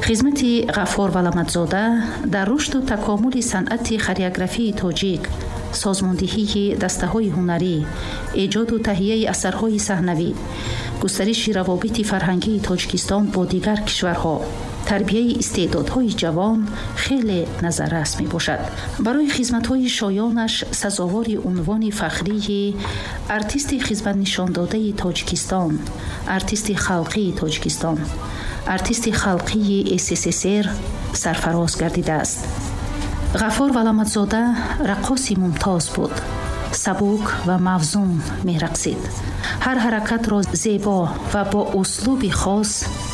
Хизмати Ғаффор Валаматзода дар рушду такомули санъати хореографии тоҷик, созмондиҳии дастаҳои ҳунарӣ, эҷоду таҳияи асарҳои саҳнавӣ, густариши равобити фарҳангии Тоҷикистон бо дигар кишварҳо, тарбияи истеъдодҳои ҷавон хеле назаррас мебошад. Барои хизматҳои шоёнаш сазовори унвони фахрии артисти хизматнишондодаи Тоҷикистон, артисти халқии Тоҷикистон, артисти халқии СССР сарфароз гардидааст. Ғаффор Валаматзода раққоси мумтоз буд. Сабук ва мавзун мерақсид. Ҳар ҳаракатро зебо ва бо услуби хос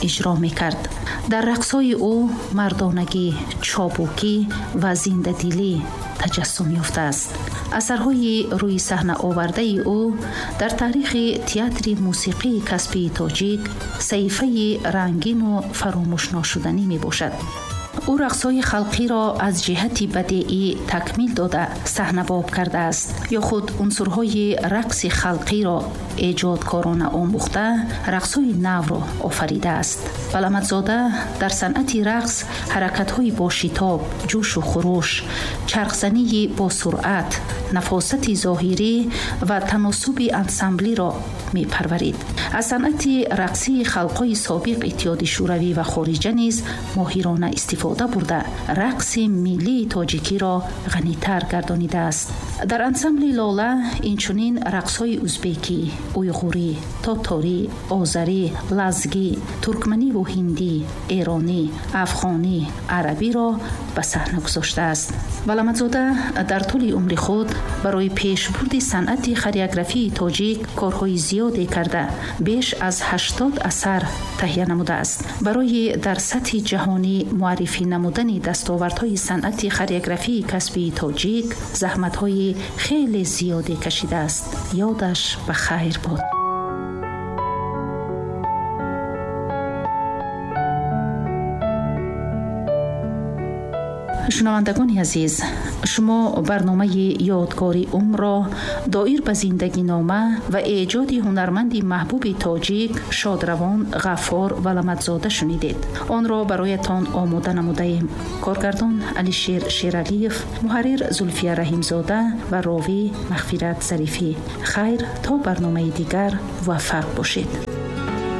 иҷро мекард. Дар рақсҳои ӯ мардонагӣ, чобукӣ ва зиндадилӣ таҷассум ёфтааст. Асарҳои рӯи саҳна овардаи ӯ дар таърихи театри мусиқии касбии тоҷик саҳифаи рангину фаромӯшношуданӣ мебошад. Ӯ рақсҳои халқиро аз ҷиҳати бадеӣ такмил дода саҳнабоб кардааст ё худ унсурҳои рақси халқиро эҷодкорона омӯхта рақсҳои навро офаридааст. Валаматзода дар санъати рақс ҳаракатҳои бошитоб, ҷӯшу хуруш, чархзании босуръат, нафосати зоҳирӣ ва таносуби ансамблиро мепарварид. Аз санъати рақсии халқҳои собиқ Иттиҳоди Шӯравӣ ва хориҷа низ моҳирона истифода бурда, рақси миллии тоҷикиро ғанитар гардонидааст. Дар ансамбли Лола инчунин рақсҳои узбекӣ, уйғурӣ, тоторӣ, озарӣ, лазгӣ, туркманиву ҳиндӣ, эронӣ, афғонӣ, арабиро ба саҳна гузоштааст. Валаматзода дар тӯли умри худ барои пешбурди санъати хореографии тоҷик корҳои зиёде карда, беш аз 80 асар таҳия намудааст. Барои дар сатҳи ҷаҳонӣ муаррифӣ намудани дастовардҳои санъати хореографии касбии тоҷик заҳматҳои хеле зиёде кашидааст. Ёдаш ба хайр бод. Шунавандагони азиз, шумо барномаи ёдгори умрро доир ба зиндагинома ва эҷоди ҳунарманди маҳбуби тоҷик шодравон Ғаффор Валаматзода шунидед. Онро бароятон омода намудаем. Коргардон Алишер Шералиев, муҳаррир Зулфия Раҳимзода ва ровӣ Мағфират Зарифӣ. Хайр, то барномаи дигар муваффақ бошед.